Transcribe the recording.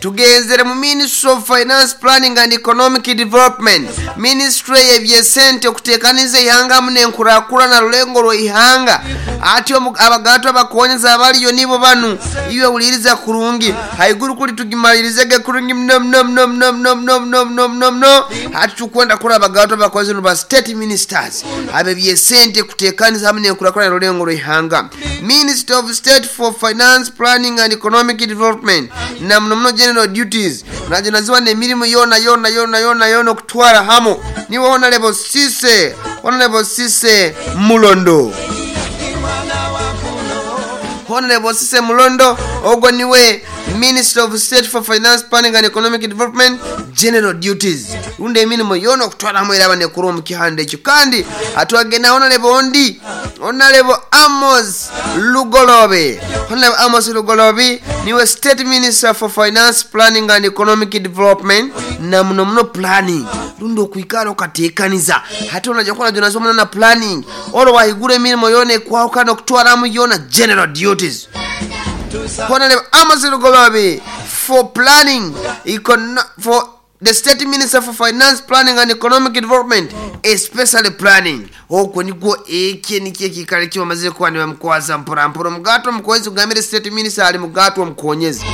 Tugenzere mu Ministry of Finance, Planning and Economic Development, Ministry y'ebyesente, okuteekaniza ihanga hamu n'enkurakurana rulengo rw'ihanga. Ati abagaatu abakonyezi abaliyo nibo banu, iwe huliiriza kurungi. Haiguru kuli tugimaliriizege kurungi muno muno muno muno muno muno muno muno muno muno. Hati tukwenda kurora abagaatu abakonyezi nibo ba State Ministers ab'ebyesente, kuteekaniza hamu n'enkurakurana rulengo rw'ihanga. Minister of State for Finance, Planning and Economic Development na muno muno General Duties najo naziwa n'emirimo yoona yoona yoona yoona yoona okutwara hamu niwe Honorable Cissy, Honorable Cissy Mulondo. Honorable Cissy Mulondo ogwo niwe Minister of State for Finance, Planning and Economic Development, General Duties, rundi emirimo yoona okutwara hamu eraba nekura omu kihanda ekyo. Kandi atwagenda Honorable ondi, Honorable Amos Lugolobi. Honorable Amos Lugolobi niwe State Minister for Finance, Planning and Economic Development na muno muno planning, rundi okwikara okateekaniza. Hati onaja kuba najo nasoma na planning oro wahigura emirimo yoona ekwahukana okutwaramu yoona general duties. Honorable Amos Lugolobi for planning, for the State Minister for Finance, Planning and Economic Development, especially planning. Okwo nikwo ekye nikyo ekiikaro eki bamazire kuba nibamukwaza mpora mpora. Omugato omukonzi kugambira State Minister ali mugato omukonyezi.